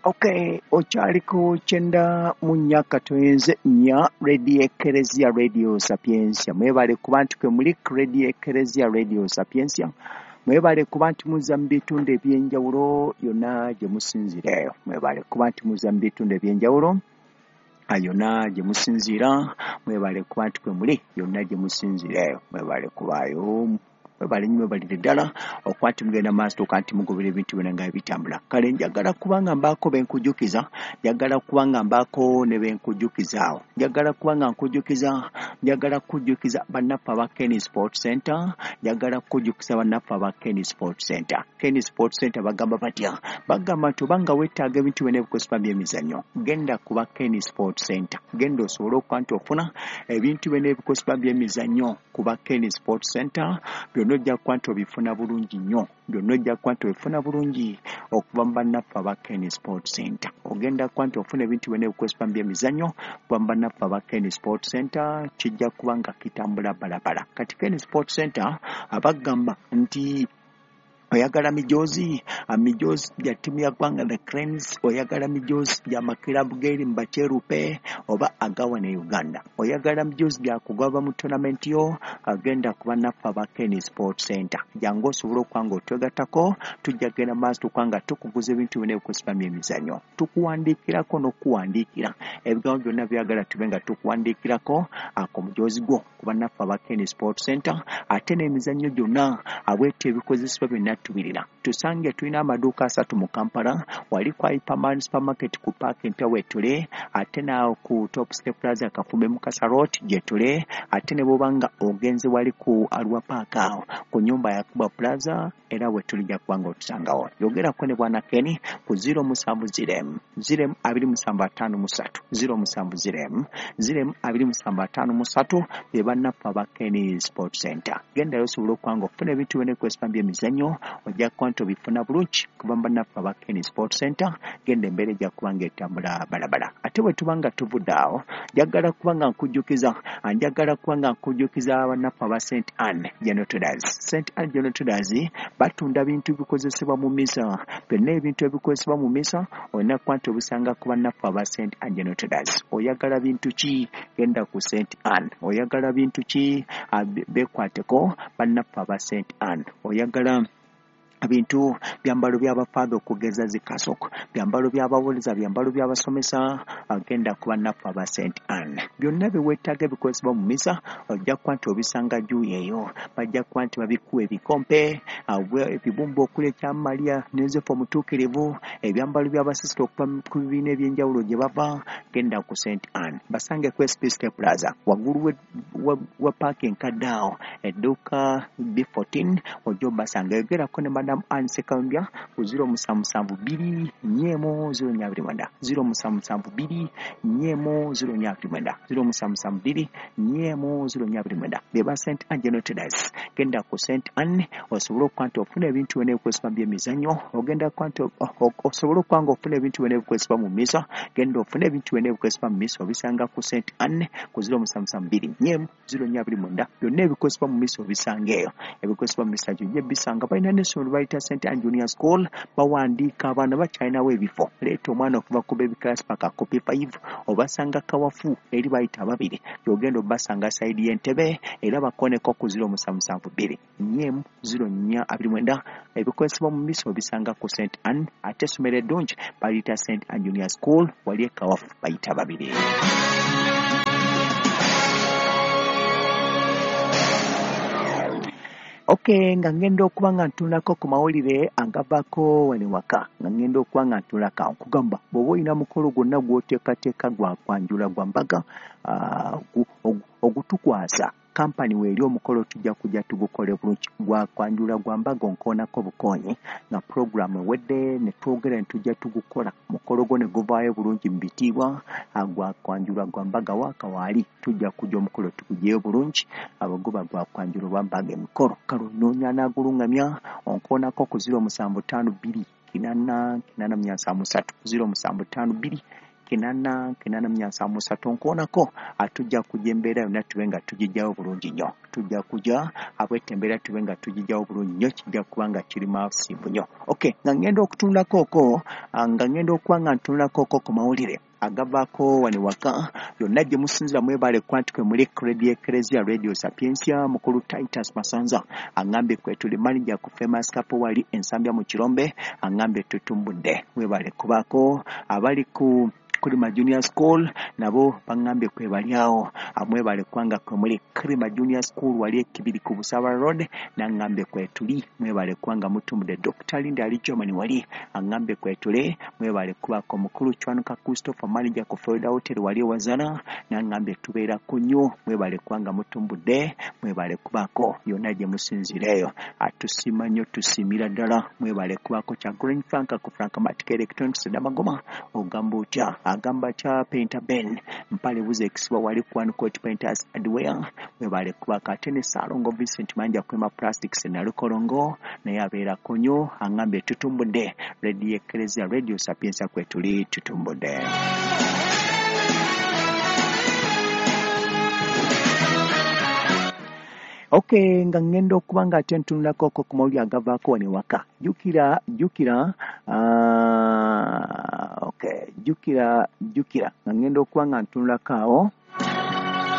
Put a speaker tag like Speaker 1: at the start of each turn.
Speaker 1: Okay, okyaliko 94.4 Radio Ekereziya Radio Sapientia. Mwebale kuba nti kwe muli Radio Ekereziya Radio Sapientia. Mwebale kuba nti muza mu bitundu ebyenjawulo yonna gye musinziira. Mwebale kuba nti muza mu bitundu ebyenjawulo yonna gye musinziira. Mwebale kuba nti kwe muli yonna gye musinziira. Mwebale kubaayo. Mwebale nnyo, mwebalire ddala okuba nti mugenda maaso tuuka nti mugobera ebintu byonna nga bitambula. Kale njagala kubanga mbaako benkujjukiza, njagala kubanga mbaako ne benkujjukizaawo, njagala kubanga nkujjukiza, njagala kujjukiza bannaffe aba Kenny Sport Center, njagala kujjukiza bannaffe aba Kenny Sport Center. Kenny Sport Center bagamba batya? Bagamba nti obanga weetaaga ebintu byonna ebikozesebwa by'emizannyo, genda kuba Kenny Sport Center, genda osobole okuba nti ofuna ebintu byonna ebikozesebwa by'emizannyo kuba Kenny Sport Center. Byonna ojja kuba nti obifuna bulungi nnyo, byonna ojja kuba nti obifuna bulungi okuva mu bannaffe aba Kenny Sport Center. Ogenda kuba nti ofuna ebintu byonna ebikozesebwa by'emizannyo okuva mu bannaffe aba Kenny Sport Center, kijja kuba nga kitambula balabala. Kati Kenny Sport Center abagamba nti oyagala mijoozi, mijoozi gya ttiimu ya ggwanga The Cranes, oyagala mijoozi gya makirabu g'eri mu bakyerupe oba agawa ne Uganda, oyagala mijoozi gya kugaba mu tournament yo, agenda ku bannaffe aba Kenny Sport Center. Jangu osobole okuba nga otwegattako, tujja kugenda maaso tukuba nga tukuguza ebintu byonna ebikozesebwa by'emizannyo, tukuwandiikirako n'okuwandiikira ebigambo byonna byagala tube nga tukuwandiikirako ku mujoozi gwo ku bannaffe aba Kenny Sport Center. Ate n'emizannyo gyonna abwetyo ebikozesebwa byonna tubirina. Tusange tulina amaduuka 3 mu Kampala, wali kwa Hyperman Supermarket ku Park empya wetule, ate naawo ku Top Step Plaza Kafumbe Mukasa Road gyetule, ate ne bw'oba nga ogenze wali ku Arua Park awo ku nyumba ya Kuba Plaza era wetuli, ojja kuba nga otusangawo. Yogerako ne Bwana Kenny ku 070 0 27 53, 070 0 27 53, be bannaffe aba Kenny Sport Center. Gendayo osobole okuba nga ofuna ebintu byonna ebikozesebwa by'emizannyo, ojja kuba nti obifuna bulungi kuva mu bannaffe aba Kenny Sport Center. Genda, embeera ejja kuba nga etambula balabala. Ate bwe tuba nga tuvudde awo, njagala kuba nga nkujjukiza, njagala kuba nga nkujjukiza bannaffe aba St Anne General Traders. St Anne General Traders batunda bintu bikozesebwa mu misa, byonna ebintu ebikozesebwa mu misa olina kuba nti obisanga ku bannaffe aba St Anne General Traders. Oyagala bintu ki? Genda ku St Anne. Oyagala bintu ki? Beekwateko bannaffe aba St Anne. Oyagala bintu byambalo by'abafaatha okugeza zikasoko, byambalo by'abawolereza, byambalo by'abasomesa, agenda ku bannaffe aba St Anne. Byonna bye weetaaga ebikozesebwa mu misa ojja kuba nti obisanga juuyi eyo. Bajja kuba nti babikuwa ebikompe, ebibumba okuli ekya Maria ne Yosefu omutuukirivu, ebyambalo by'abasisita okuva ku bibiina ebyenjawulo gye bava. Genda ku St Anne, basange ku SPSK Plaza waggulu wa paaka enkadde awo, edduuka B14, ojja obasanga. Yogerako ne Madam Anne Ssekawumbya ku 077 2 4 0 429, 077 2 4 0 429, 077 2 4 0 429, be ba St Anne General Traders. Genda ku St Anne osobole okuba nti ofuna ebintu byonna ebikozesebwa by'emizannyo, ogenda kuba nti osobole okuba nga ofuna ebintu byonna ebikozesebwa mu misa. Genda ofune ebintu byonna ebikozesebwa mu misa, obisanga ku St Anne ku 077 2 4 0 429. Byonna ebikozesebwa mu misa obisanga eyo. Ebikozesebwa mu misa gyojja bisanga. Balina n'essomero bayita St Anne Junior School, bawandiika abaana, bakyalinawo ebifo. Leeta omwana okuva ku baby class paka ku P5. Obasanga Kawafu eri bayita ababiri, gyogenda obasanga side y'Entebe, era bakoneko ku 077 2 4 04 29. Ebikozesebwa mu misa obisanga ku St Anne. Ate essomero eddungi baliyita St Anne Junior School, wali e Kawafu bayita babiri. Okay, nga ngenda okuba nga ntunulako ku mawulire agavaako wano waka, nga ngenda okuba nga ntunulako nkugamba bw'oba olina mukolo gwonna gw'oteekateeka gwa kwanjula, gwa mbaga, ogutukwasa kampani weeri, omukolo tujja kujja tugukole bulungi. Gwa kwanjula, gwa mbaga, onkoonako bukoonyi nga puroguramu ewedde ne twogera ne tujja tugukola mukolo gwo ne guvaayo bulungi mu bitiibwa. Gwa kwanjula, gwa mbaga, waaka waali tujja kujja omukolo tuguggyeyo bulungi. Abo guba gwa kwanjula oba mbaga, emikolo kale onoonya anaagulungamya, onkoonako ku 0752 888 73, 0752 8 873 nkoonako atujja kujja embeera yonna tube nga tugijjawo bulungi nnyo. Tujja kujja abwette embeera tube nga tugijjawo bulungi nnyo, kijja kuba nga kiri maasimbu nnyo. Okay, nga ngenda okutunulako okwo, nga ngenda okuba nga ntunulako okwo ku mawulire agavaako wano waka yonna gye musinzira. Mwebale kuba nti kwe muli Radio Ecclesia Radio Sapientia. Mukulu Titus Masanza aŋŋambye kwe tuli, manager ku Famous Couple wali Ensambya mu Kirombe aŋŋambye tutumbudde. Mwebale kubaako. Abali ku Kulima Junior School nabo baŋŋambye kwe bali awo, mwebale kubanga kwe muli. Kulima Junior School wali Ekibiri ku Busaba Road naŋŋambye kwe tuli, mwebale kubanga mutumbudde. Dr. Linda ali Germany wali aŋŋambye kwe tuli, mwebale kubaako. Mukulu Chwanuka Christopher manager ku Florida Hotel wali Wazana naŋŋambye tubeera ku nnyo, mwebale kubanga mutumbudde, mwebale kubaako yonna gye musinziira eyo. Atusiima nnyo, tusiimira ddala, mwebale kubaako. Kya Green Frank ku Frank Matic Electronics Namagoma ogamba otya? Agamba kya Painter Ben Mpale buze ekisibwa wali ku One Coat Painters Hardware, mwebale kubaako. Ate ne Ssalongo Vincent Manja Kwema Plastics Nalukolongo naye abeerako nnyo, aŋŋambye tutumbudde. Radio Ecclesia Radio Sapientia kwe tuli, tutumbudde. Okay, nga ngenda okuba nga ate ntunulako okwo ku mawulire agavaako wano ewaka. Jjukira, jjukira, okay, jjukira, jjukira nga ngenda okuba nga ntunulako awo.